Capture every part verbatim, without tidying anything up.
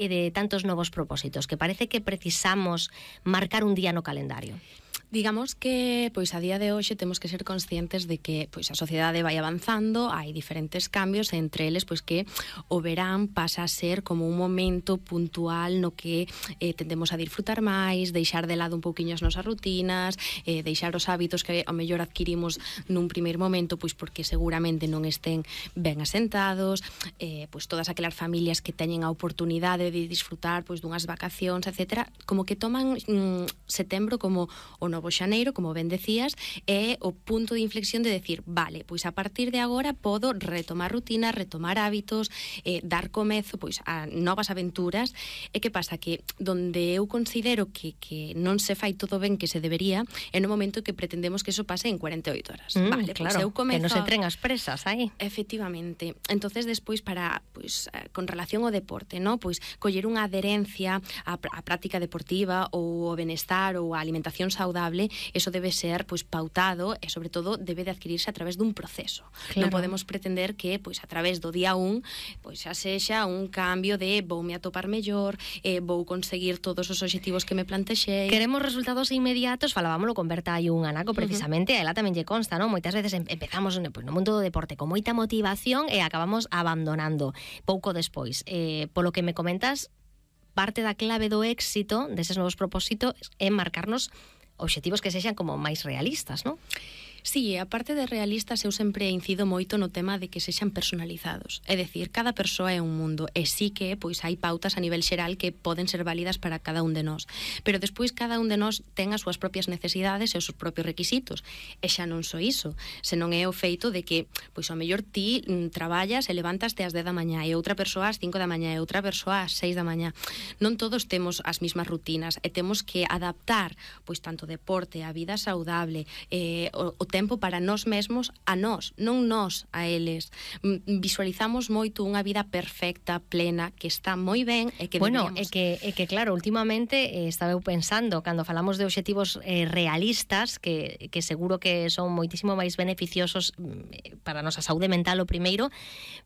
e de tantos novos propósitos, que parece que precisamos marcar un día no calendario? Digamos que pois a día de hoxe temos que ser conscientes de que pois a sociedade vai avanzando, hai diferentes cambios, e entre eles pois que o verán pasa a ser como un momento puntual no que eh, tendemos a disfrutar máis, deixar de lado un pouquiño as nosas rutinas, eh, deixar os hábitos que ao mellor adquirimos nun primeiro momento pois porque seguramente non estén ben asentados, eh, pois todas aquelas familias que teñen a oportunidade de disfrutar pois dunhas vacacións, etcétera, como que toman mm, setembro como o novo xaneiro, como ben decías, é o punto de inflexión de decir, vale, pois a partir de agora podo retomar rutinas, retomar hábitos, eh, dar comezo pois a novas aventuras. E que pasa? Que donde eu considero que, que non se fai todo ben que se debería é no momento que pretendemos que eso pase en cuarenta e oito horas. Mm, vale, claro, pois eu comezo... que non se entren as presas aí. Efectivamente. Entonces despois para, pois, con relación ao deporte, ¿no? Pois coller unha adherencia á, á práctica deportiva ou ao benestar ou á alimentación saudable, eso debe ser pois pautado e sobre todo debe de adquirirse a través dun proceso. Claro. Non podemos pretender que pois a través do día un pois xa sexa un cambio de voume atopar mellor, eh, vou conseguir todos os obxectivos que me plantexei. Queremos resultados inmediatos, falábamoslo con Berta hai un anaco precisamente, uh -huh. a ela tamén lle consta, non? Moitas veces empezamos pois, no mundo do deporte con moita motivación e acabamos abandonando pouco despois. Eh, polo que me comentas, parte da clave do éxito deses novos propósitos é marcarnos obxectivos que sexan como máis realistas, non? Sí, a parte de realistas, eu sempre incido moito no tema de que sexan personalizados. É dicir, cada persoa é un mundo, e sí que pois hai pautas a nivel xeral que poden ser válidas para cada un de nós. Pero despois cada un de nós ten as súas propias necesidades e os seus propios requisitos. E xa non só iso, senón é o feito de que, pois ao mellor ti mm, traballas e levantaste ás dez da mañá, e outra persoa ás cinco da mañá, e outra persoa ás seis da mañá. Non todos temos as mismas rutinas, e temos que adaptar, pois tanto deporte, a vida saudable, eh, o, o tempo para nós mesmos a nós, non nós a eles. Visualizamos moito unha vida perfecta, plena, que está moi ben e que bueno, deberíamos... é que, é que claro, últimamente eh, estaba eu pensando, cando falamos de obxectivos eh, realistas, que, que seguro que son moitísimo máis beneficiosos eh, para a nosa saúde mental o primeiro,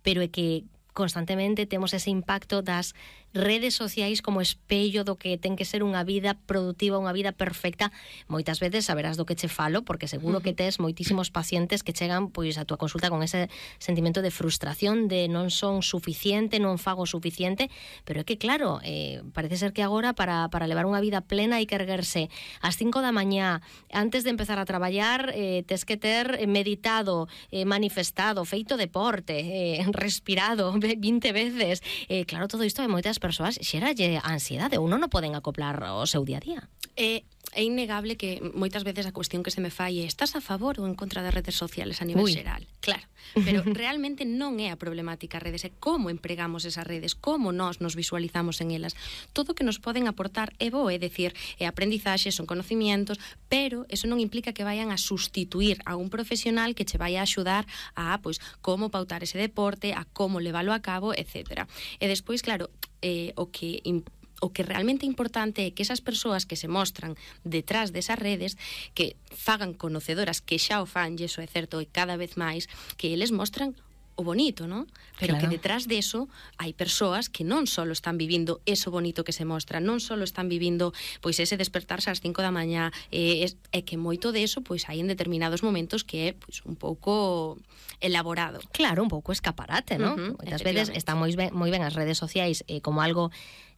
pero é que constantemente temos ese impacto das redes sociais como espello do que ten que ser unha vida productiva, unha vida perfecta. Moitas veces saberás do que che falo, porque seguro uh-huh. que tes moitísimos pacientes que chegan pois a túa consulta con ese sentimento de frustración, de non son suficiente, non fago suficiente, pero é que claro, eh, parece ser que agora para, para levar unha vida plena hai que erguerse ás cinco da mañá, antes de empezar a traballar eh, tes que ter meditado, eh, manifestado, feito deporte, eh, respirado vinte veces. Eh, claro, todo isto de moitas persoas xeralle ansiedade, uno non poden acoplar o seu día a día. É, é innegable que moitas veces a cuestión que se me fai é: estás a favor ou en contra das redes sociales a nivel Uy. xeral? Claro, pero realmente non é a problemática as redes, é como empregamos esas redes, como nós nos visualizamos en elas. Todo o que nos poden aportar é bo, é dicir, é aprendizaxe, son conocimientos, pero eso non implica que vayan a sustituir a un profesional que che vai a axudar a, pois, como pautar ese deporte, a como leválo a cabo, etcétera. E despois, claro, eh, o que o que realmente é importante é que esas persoas que se mostran detrás desas redes, que fagan conocedoras, que xa o fan, e iso é certo, e cada vez máis, que eles mostran o bonito, ¿no? Pero claro, que detrás de eso hai persoas que non só están vivindo eso bonito que se mostra, non só están vivindo pois ese despertarse ás cinco da mañá, e, e que moito de eso pois hai en determinados momentos que é pois un pouco elaborado. Claro, un pouco escaparate, ¿no? Uh-huh, moitas veces están moi ben, moi ben as redes sociais eh, como algo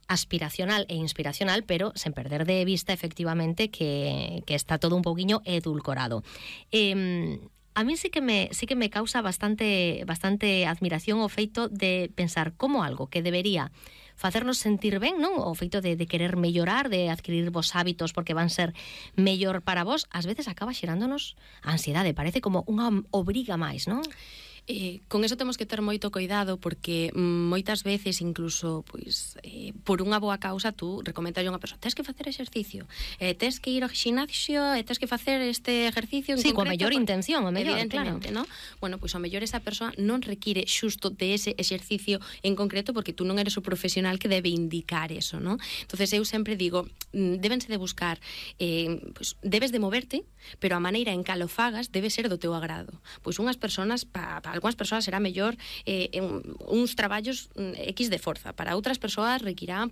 aspiracional e inspiracional, pero sen perder de vista efectivamente que, que está todo un pouquiño edulcorado. Eh, a mí sí que me sí que me causa bastante bastante admiración o feito de pensar como algo que debería facernos sentir ben, non? O feito de, de querer mellorar, de adquirir vos hábitos porque van ser mellor para vos, ás veces acaba xerándonos ansiedade, parece como unha obriga máis, non? Eh, con eso temos que ter moito cuidado, porque mm, moitas veces incluso pois eh, por unha boa causa tú recomendas a unha persoa: tens que facer exercicio, eh, tens que ir ao gimnasio, e tens que facer este exercicio en sí, concreto, coa mellor por... intención, o mellor, evidentemente, claro, ¿no? Bueno, pois ao mellor esa persoa non require xusto de ese exercicio en concreto, porque tú non eres o profesional que debe indicar eso, ¿no? Entonces eu sempre digo, débense de buscar eh, pois, debes de moverte, pero a maneira en que lo fagas debe ser do teu agrado. Pois unhas persoas pa, pa algunhas persoas será mellor eh, uns traballos X de forza, para outras persoas requirán